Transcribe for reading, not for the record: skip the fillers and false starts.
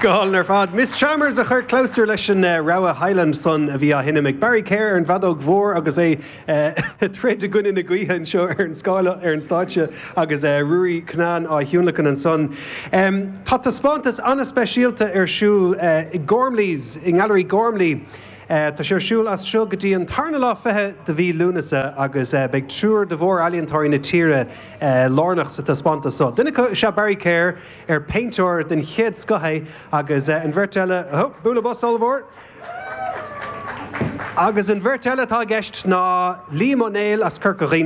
Go hálainn ar fad. Miss Chalmers a chuir clabhsúr leis an rogha Highland san a bhí á sheinm ag Barry Kerr ar an bhfeadóg mhór agus é ag troid i gcoinne na gaoithe anseo ar an scáile ar an stáitse agus Ruairí Cunnane á thionlacan ansan. Tá taispeántas an-speisialta ar siúl i Gormley's, i nGailearaí Gormley. Tá sé ar siúl as seo go dtí an tarna lá 20 de mhí Lúnasa agus beidh triúr de mhór-ealaíontóirí na tíre lárnach sa taispeántas so. Duine acu is ea Barry Kerr, ar péintéir den chéad scoth é, agus an bheirt eile, bualadh bos ollmhór! Agus an bheirt eile atá i gceist ná Liam Ó Néill as Corca Dhuibhne.